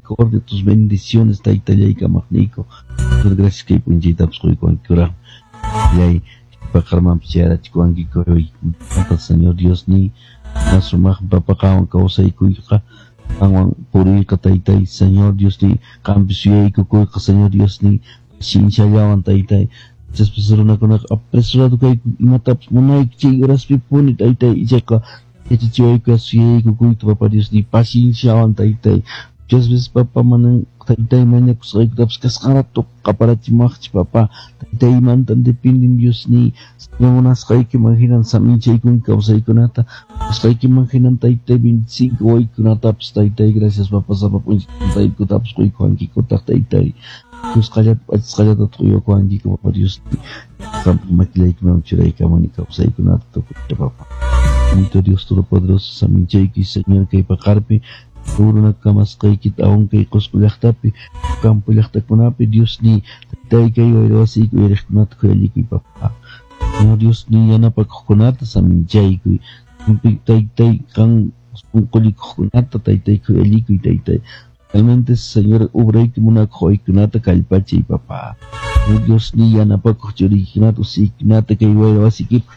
misericordia, tus bendiciones, taytallay kamaqniyku. Gracias kay p'unchaytapas quykuwankikuraq. Yay, paqarmanpas chayarachikuwankiku. Señor Dios ni sumaq papa qanwan kawsaykuyqa, qanwan puriyqa taytay, Señor Dios ni qampi suyaykukuyqa, Señor Dios ni pacienciallawan taytay. Chaspas runakunaqa apresurado kayku imatapas munayku chay horaspipuni taytay, ichaqa yachachiwayku suyaykukuyta papa Dios ni pacienciawan taytay. Muchas veces papa manan taytay mañakusqaykutapas kasqan rato qaparachimuwaqchik papa. Taytaymantan dependen Dios ni munasqaykiman hinan saminchaykunki kawsaykunata, munasqaykiman hinan taytay 25 waykunatapas taytay, gracias papa sapa p'unchay taytaykutapas quykuwankikutaq taytay. Kusqallata p'achisqallata quykuwankiku papa Dios ni. Qampaq makillaykiman churaykamuni kawsaykunata tukuyta papa. Bendito Dios Todopoderoso, saminchayki Señor kay paqarpi runa kamasqaykita aún kay Qusqu llaqtapi, campo llaqtakunapi Dios ni taytay kay wayra wasiyki uyariqkunata khuyallikuy papa. Señor Dios ni yanapakuqkunata saminchaykuy. Taytay qan sunqullikuqkunata taytay khuyallikuy taytay. Realmente Señor obrayki munakuq waykunata kallpachay papa. Señor Dios ni yanapakuq churiykunata usiykunata kay wayra wasiykipaq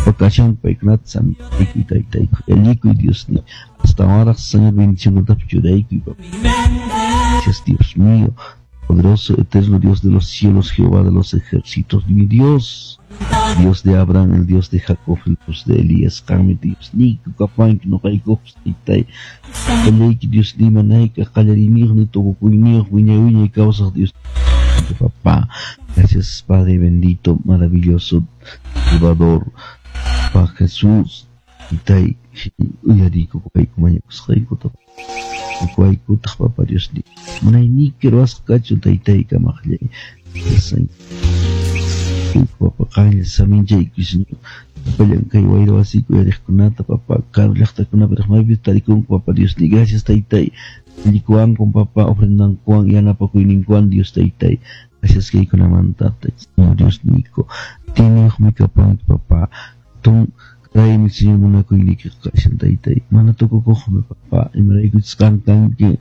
pakashan paykunata saminchaykuy taytay khuyallikuy Dios ni. Hasta ahora, Señor, bendición churaykuy, papá. Gracias, Dios mío, poderoso, eterno Dios de los cielos, Jehová de los ejércitos, mi Dios, Dios de Abraham, el Dios de Jacob, el Dios de Elías, qanmi Dios niyku kapanki noqaykupas taytay. Qallayki Dios ni manayka qallariyniyuq ni tukukuyniyuq wiñay wiñay kawsaq Dios papá. Gracias, Padre bendito, maravilloso, Salvador, Papá Jesús, taytay, uyariyku kayku mañakusqaykuta. Waykutaq papa Dios ni munayniyki ruwasqa kachun taytay kamaqllay. Papa qanlla saminchayku Señor. Sapallan kay wayra wasiyku uyariqkunata papa karu llaqtakunapi maypi tarikunku papa Dios ni gracias taytay. Llikuwanku papa ofrendankuwan yanapakuyninkuwan Dios taytay. Gracias kaykunamanta Señor Dios niyku. Tiniyuqmi kapanki papa. Tun Raymi Señor munakuyniyki kashan taytay. Mana tukukuqmi papa. Imaraykuchus qan kanki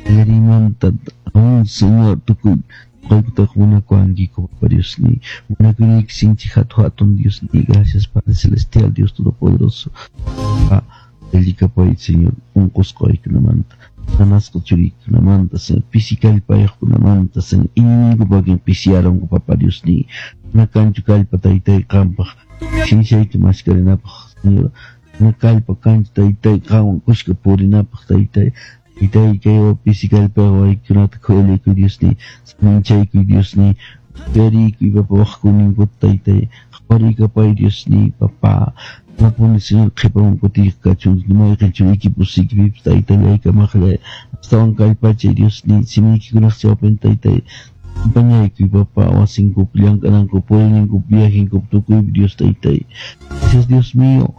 qallariymanta aún Señor tukuy noqaykutaqa munakuwankiku papa Dios ni. Munakuyniyki sinchi hatun hatun Dios ni. Gracias Padre Celestial, Dios Todopoderoso. Papá, allikapay Señor unqusqa waykunamanta, nanasqa churiykunamanta, Señor pisi kallpayuqkunamanta, Señor iñiyninku wakin pisiyarunku papa Dios ni. Mana kanchu kallpa taytay qampaq sinchayki maskarinapaq Señor. Mana kallpa kanchu taytay qanwan kuska purinapaq taytay. Taytay kay pisi kallpayuq waykunata khuyalikuy Dios ni. Saminchaykuy Dios ni. Uyariykuy papa waqkuyninkuta taytay. Qhaparikapay Dios ni papa. Mapuni Señor qhipaman kutiyqa kachun mayqin churiyki pusiykipipas taytallay kamaqllay. Astawan kallpachay Dios ni simiykikunaq chawpin taytay. Acompañaykuy papa wasinkupi llank'anankupi puriyninkupi viajenkupi tukuypi Dios taytay. Gracias Dios mío.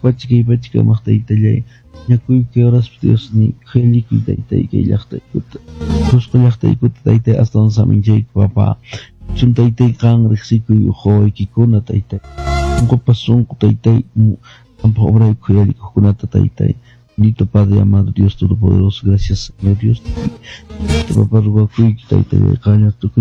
Pacha kay pacha kamaq taytallay. Ñakuyku kay horaspi Dios ni khuyallikuy taytay kay llaqtaykuta. Qusqu llaqtaykuta taytay astawan saminchayku papa. Chun taytay qan riqsikuy uhuwaykikuna taytay. Sunqupas sunqu taytay qampaq obrayku khuyallikuqkunata taytay. Bendito Padre amado Dios Todopoderoso, gracias Señor Dios. Papá rugakuyki taytallay qanlla tukuy